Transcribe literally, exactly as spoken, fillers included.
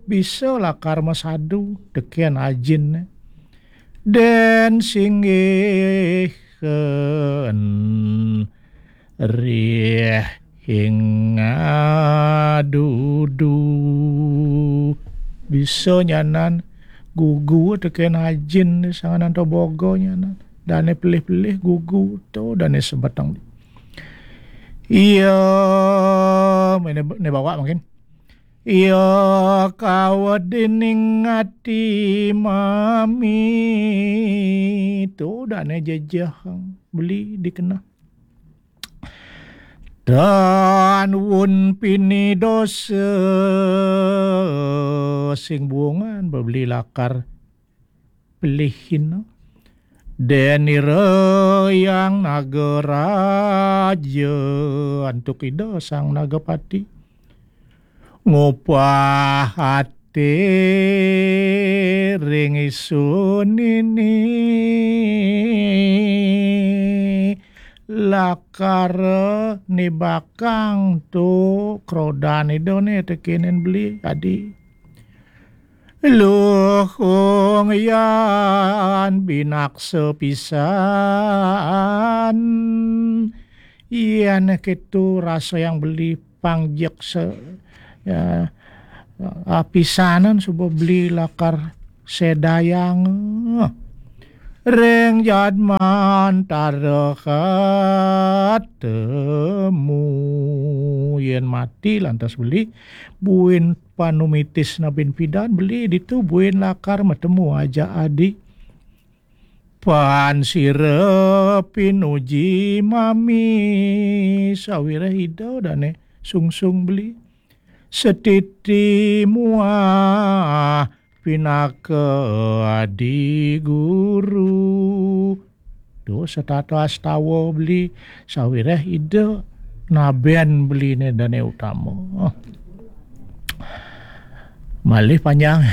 bisa lakar masadu tekén ajinné. Dén singgihén rih ing adudu. Bisa nyanan gugu tekén ajin sanganan toboga nyanan. Dané pelih-pelih gugu to dané sebeteng. Iya, né, né bawa mungkin. Iya kawedining ati mami to dané jejehang beli dikenah. Tan wun pini dosa sing buungan bebeli lakar pelihin. Dén ira Hyang Nagaraja antuk Ida Sang Nagapati. Ngupah ati ring isunini lakar nibakang to krodan Idané tekenen beli adi. Luhung yan binaksa pisan. Yan kéto rasa yang beli pangjeksa, ya, apisanan suba beli lakar sedayang ring jadman tara katemu. Yén mati lantas beli buin panumitis nabin pidan beli ditu buin lakar matemu aja adi. Pan sira pinuji mami sawiréh Ida dané sungsung beli. Setiti muah pinaka adi guru. Duh, setata astawa beli sawiréh Ida nabén beliné dané utama. Malih panjang.